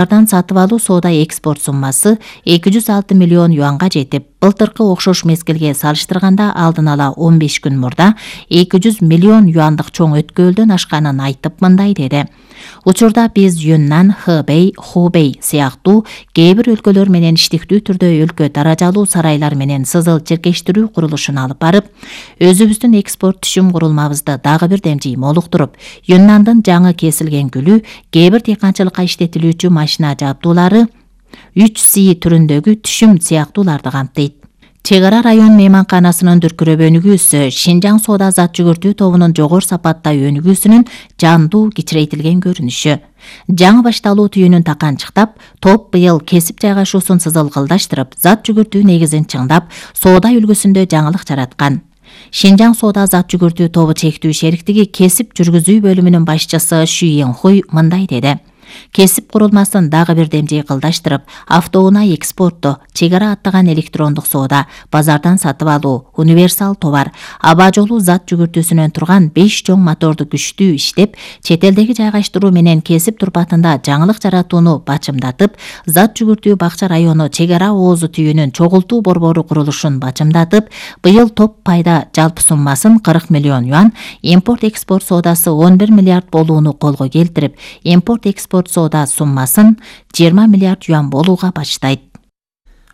Базардан сатып алуу соода экспорт суммасы 206 миллион юанга жетип, былтыркы окшош мезгилге салыштырганда алдын ала 15 күн мурда 200 миллион юандык чоң өткөлдөн ашканын айтып мындай деди. Учурда биз Юннан, Хэбэй, Хубэй сыяктуу кээ бир өлкөлөр менен иштиктүү түрдө өлкө даражалуу сарайлар менен сызыл чиркештирүү курулушун алып барып, өзүбүздүн экспорт түшүм курулмабызды дагы бир демжи молуктуруп, Юннандын жаңы кесилген гүлү, кээ бир дыйканчылыкка иштетилүүчү машина жабдуулары, 3C түрүндөгү түшүм сыяктууларды камтыйт. Чегара район мейманканасынын дүркүрөп өнүгүүсү Шинжаң соода зат жүгүртүү тобунун жогору сапатта өнүгүүсүнүн жандуу кичирейтилген көрүнүшү. Жаңы башталуу түйүнүн таканчыктап, топ быйыл кесип жайгашуусун сызылгылдаштырып, зат жүгүртүү негизин чыңдап, соода үлгүсүндө жаңылык жараткан. Шинжаң соода зат жүгүртүү тобу чектүү шериктиги кесип жүргүзүү бөлүмүнүн башчысы Шүй Янхуй мындай деди. Кесип курулмасын дагы бир демжей кылдаштырып, автоунаа экспортто, чегара аттаган электрондук соода, базардан сатып алуу, универсал товар, аба жолу зат жүгүртүүсүнөн турган 5 чоң моторду күчтүү иштеп, чет элдеги жайгаштыруу менен кесип турпатында жаңылык жаратууну бачымдатып, зат жүгүртүү Бакча району чегара оозу түйүнүн чогултуу борбору курулушун бачымдатып, быйыл топ пайда жалпы суммасын 40 миллион юан, импорт-экспорт соодасы 11 миллиард болууну колго келтирип, импорт-экспорт соода суммасын 20 миллиард юан болууга баштайт.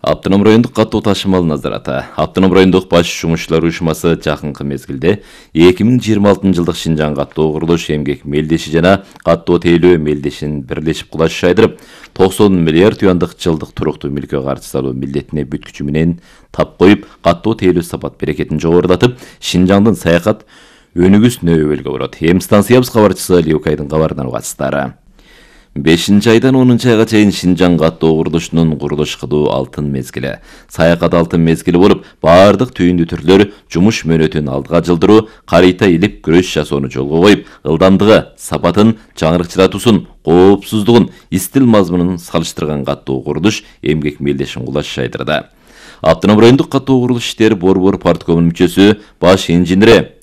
Автоном райондук каттоо ташымал назараты. Автоном райондук баш жумушчулар уюшмасы жакынкы мезгилде 2026 жылдык Шинжаң каттоо курулуш эмгек мелдеши жана каттоо тейлөө мелдешин бирлешип кулаш шайдырып, 90 миллиард юандык жылдык туруктуу мүлккө каршы салуу милдетине бүткүчү менен тап коюп, каттоо тейлөө сапат берекетин жогорулатып, Шинжаңдын саякат өнүгүүсүнө өбөлгө бурат. Эми станциябыз кабарчысы Лиукайдын кабарынан угасыздар. 5 айдан 10 айга чейин Шинжаң каттоо курулушунун курулуш кылуу алтын мезгили. Саякат алтын мезгили болуп, баардык түйүндүү түрлөр жумуш мөөнөтүн алдыга жылдыруу, карыйта илип күрөш жасоону жолго коюп, ылдамдыгы, сапатын, жаңырыкчыратуусун, коопсуздугун, истил мазмунун салыштырган каттоо курулуш эмгек мелдешин кулаш шайдырды. Автоном райондук каттоо курулуш иштери борбор парткомунун мүчөсү баш инженери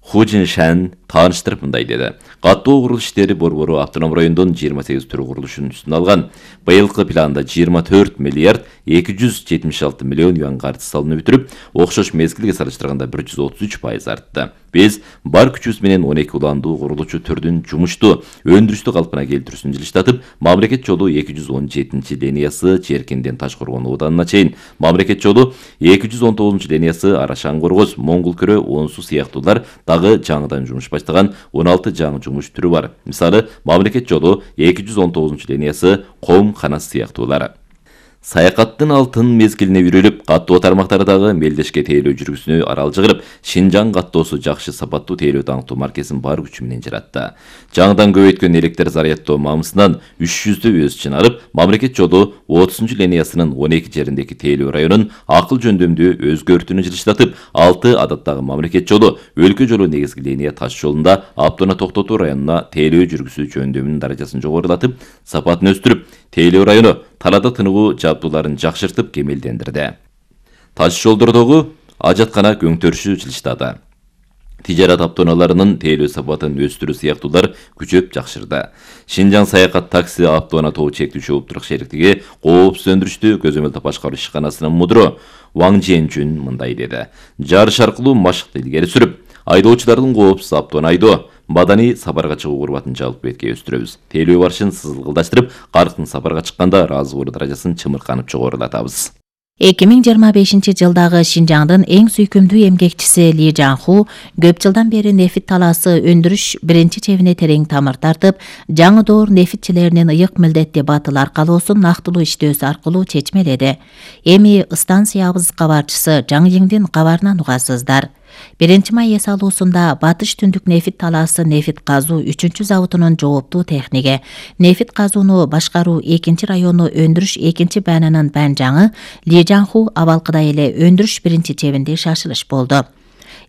Ху Жиншан тааныштырып мындай деди. Каттоо курулуш иштери борбору автоном райондон 28 түрү курулушун үстүнө алган. Быйылкы планда 24 миллиард 276 миллион юан каржы салынып бүтүрүп, окшош мезгилге салыштырганда 133% артты. Биз бар күчүбүз менен 12 уландуу курулуучу түрдүн жумушту, өндүрүштү калпына келтирүүсүн жылыштатып, мамлекет жолу 217 линиясы Жеркенден Ташкоргон ооданына чейин, мамлекет жолу 219 линиясы Арашан-Коргоз, Моңгул-Көрө, Оон-Суу сыяктуулар дагы жаңыдан жумуш баштаган 16 жаңы жумуш түрү бар. Мисалы, мамлекет жолу 219 линиясы Ком-Канас сыяктуулар. Саякаттын алтын мезгилине үйрөлүп, каттоо тармактардагы мелдешке тейлөө жүргүсүнө аралжы кылып, Шинжаң каттоосу жакшы сапаттуу тейлөө даңктуу маркесин бар күчү менен жаратты. Жаңыдан көбөйткөн электр зарядтоо мамысынан 300 өз чыгарып, мамлекет жолу 30 линиясынын 12 жериндеги тейлөө районун акыл жөндөмдүү өзгөртүүнү жылыштатып, 6 адаттагы мамлекет жолу, өлкө жолу негизги линия таш жолунда автоуна токтотуу районуна тейлөө жүргүсү жөндөмүнүн даражасын жогорулатып, сапатын өстүрүп, тейлөө району талаада тыныгуу жабдууларын жакшыртып кемелдендирди. Таш жолдордогу ажаткана көңтөрүшү жылыштады. Тижарат автоунааларынын тейлөө сапатын өстүрүү сыяктуулар күчөп жакшырды. Шинжаң саякат такси автоунаа тобу чектүүчү уптурук шериктиги коопсуз өндүрүштү көзөмөлдөп башкаруу ишканасынын мудуру Ваң Женжүн мындай деди. Жарыш аркылуу машыкты илгери сүрүп, айдоочулардын коопсуз автоунаа айдоо, бадани сапарга чыгуу курбатын жалпы бетке өстүрөбүз. Тейлөө барышын сызылгылдаштырып, карктын сапарга чыкканда ыраазы болуу даражасын чымырканып жогорулатабыз. 2025 жылдагы Шинжаңдын эң сүйкүмдүү эмгекчиси Ли Жанху көп жылдан бери нефит талаасы өндүрүш биринчи чебине терең тамыр тартып, жаңы доор нефитчилеринин ыйык милдетти батыл аркалоосун нактылуу иштөөсү аркылуу чечмеледи. Эми станциябыз кабарчысы Жаң Йиңдин кабарынан угасыздар. 1-май эс алуусунда Батыш түндүк нефит талаасы нефит казуу 3-чү заводунун жооптуу техниги, нефит казууну башкаруу 2 району өндүрүш 2 баанынын баанжаңы Ли Жанху абалкыда эле өндүрүш 1 чебинде шашылыш болду.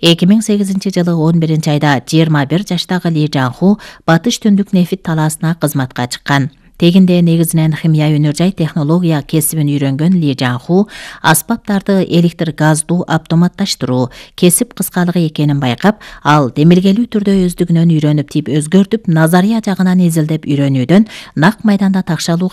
2008 жылы 11 айда 21 жаштагы Ли Жанху Батыш түндүк нефит талаасына кызматка чыккан. Тегинде негизинен химия өнөр жай технология кесибин үйрөнгөн Ли Жанху аспаптарды электр газдуу автоматташтыруу кесип кыскалыгы экенин байкап, ал демилгелүү түрдө өздүгүнөн үйрөнүп тип өзгөртүп, назария жагынан изилдеп үйрөнүүдөн нак майданда такшалууга